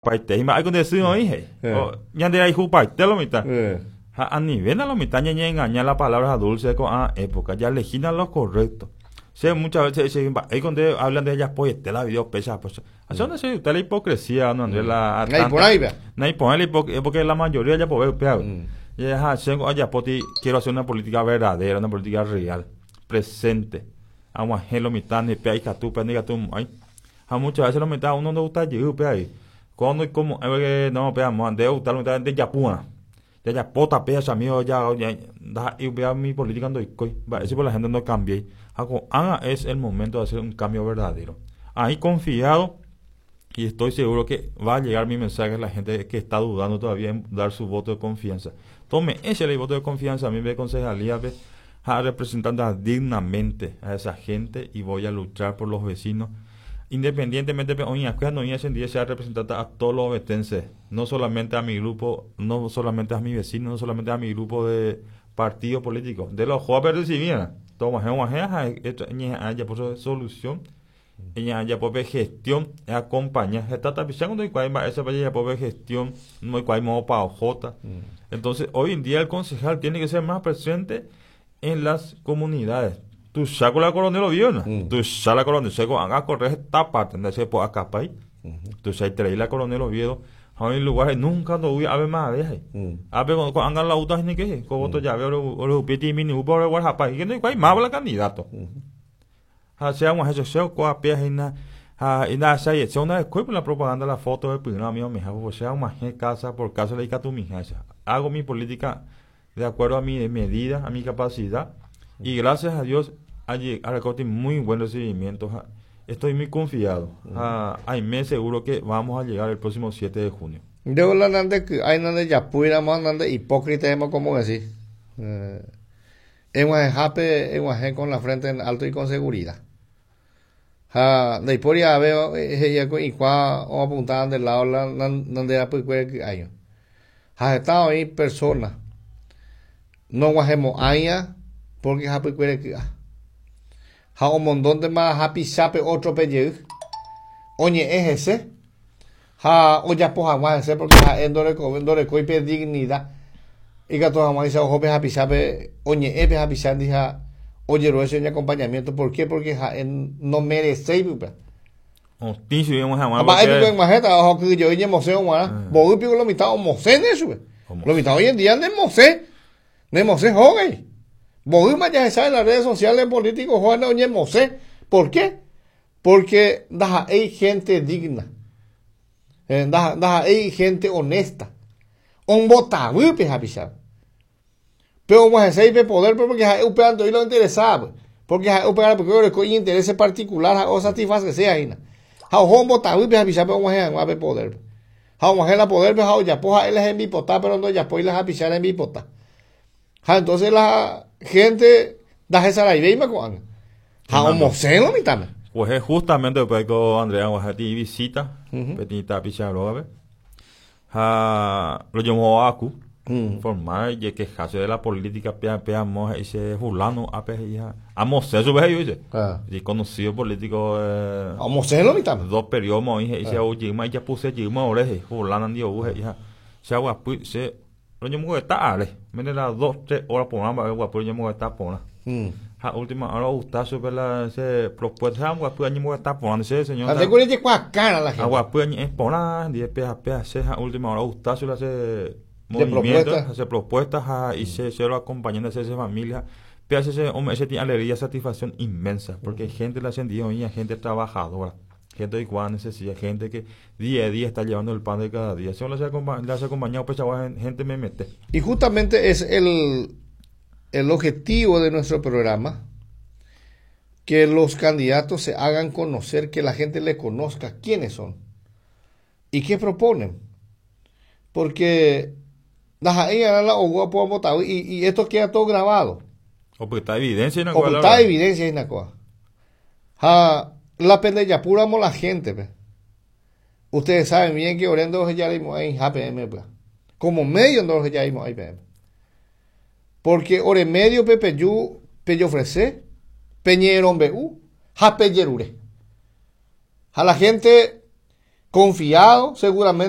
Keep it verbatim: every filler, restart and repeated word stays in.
Paite mba'éiko nde sy oĩ he'i. Ñanderayhupaite lo mitã. Ha anivéna lo mitã ñañeengaña la palabra dulce ko'ã época. Jaelegína lo correcto. Che muchas veces che mba'éiko nde habla nde japoiete la video péicha péicha. Así donde se gusta la hipocresía, no Andrés la Naiporãiva. Naiporãi la hipocresía porque la mayoría japove upéva. Ha che ajapóti quiero hacer una política verdadera, una política real, presente. Ag̃uahẽ lo mitã pe ikatu pe ndikatumo'ãi. Ha muchas veces lo mitã uno no gusta jey upéva ahí. Cuando como que no pe amo nde gusta lo mitã nde japúa. Jajapóta pe amigo ya ndaha'éi upéva mi política ndoikói. Mba'éichapa la gente no cambié. Ha ko'ág̃a es el momento de hacer un cambio verdadero. Ahí confiado y estoy seguro que va a llegar mi mensaje a la gente que está dudando todavía en dar su voto de confianza. Tome ese el voto de confianza a mí me concejalía a representar dignamente a esa gente y voy a luchar por los vecinos. Independientemente, hoy no sea representante a todos los ovetenses, no solamente a mi grupo, no solamente a mi vecino, no solamente a mi grupo de partido político, de los jóvenes recibían. Toma, ya por solución, ya por gestión, acompaña, está tapizando y esa ya por gestión, no hay modo pa ojota. Entonces, hoy en día el concejal tiene que ser más presente en las comunidades. Tu saco la coronel Oviedo, ¿no? Tu saco la coronel, seco, haga correr esta parte, donde se puede acá ahí. Tu sai trae la coronel Oviedo, a un lugar nunca no voy a ver más a ver. A ver cuando andan la auto ni que, como to ya veo lo piti mini upo ore guarda que no hay más la candidato. Ha sea un eso sea ko pie ina ha ina sai se una después la propaganda la foto de primero amigo mi o sea más casa por casa le tu mija. Hago mi política de acuerdo a mi medida, a mi capacidad. Y gracias a Dios, allí ha muy buen recibimiento. Estoy muy confiado. Uh, me seguro que vamos a llegar el próximo siete de junio. Yo la nande hay nande yapuira más nande hipócrita como decir. Eh, en con la frente en alto y con seguridad. Ha de hiporia veo ella con igual o apuntaban del lado la nande pues año. Ha estado ahí personas. No guajemos aña porque hapi cuere que ha un montón de más hapi sape otro pelle oñe es ese ha oya poja más ese porque ha endore co endore coipe dignidad y que toda más esa ojo hapi sape oñe epe hapi sandi ha oye ro ese acompañamiento. ¿Por qué? Porque ha en, no merece pues oticio íbamos a más porque majeta ojo que yo oye moseo guara bo pico lo mitad o mosé eso lo mitad hoy en día ne mosé ne mosé joven. Bohuma ya se sabe en las redes sociales políticos, Juan Oñe Mosé. ¿Por qué? Porque hay gente digna. Eh, hay gente honesta. Un botabupe, japisha. Pero como se sabe poder, porque hay lo interesaba. Porque hay porque hay interés particular o satisface sea ahí. Un botabupe, japisha, pero como se poder. Jauma la poder, pero ya poja él es en bipotá, pero no ya poja las japisha en bipotá. Entonces la gente da esa la idea y me coan. Ja homoceno mi tame. Pues es justamente después que Andrea Guajati visita, petita picharobe. Ja lo llamó a cu formar y quejarse de la política pea pea mo ese fulano a pe hija. Amocé su vez dice. Y conocido político eh homoceno mi tame. Dos periodos mo hija y se oye y ya puse yima oreje fulano andio hija. Se agua se lo llamo que está ale, mire las dos, tres horas por una, guapo, yo me voy a estar por una. Ja, última hora gusta super la ese propuesta, guapo, yo me voy a estar por una, ese señor. Ande con el cara la gente. Guapo, es por una, diez P A P A C, ja, última hora gusta super ese movimiento, hace propuestas, ja, y se se lo acompañando a esa familia. P A C ese hombre, ese tiene alegría, satisfacción inmensa, porque gente la sentía hoy, gente trabajadora. Gente de igual necesidad, gente que día a día está llevando el pan de cada día. Si uno le hace acompañado, pues chaval, gente me mete. Y justamente es el, el objetivo de nuestro programa, que los candidatos se hagan conocer, que la gente le conozca quiénes son y qué proponen. Porque y, y esto queda todo grabado. O porque está evidencia en la O está evidencia en la cosa. La pendeja pura la gente, pe. Ustedes saben bien que orendo ya en J P M, pe. Como medio no ya I P M. Porque ore medio pepe yu pe ofrece peñeron B U ja peyerure. A la gente Confiado, seguramente.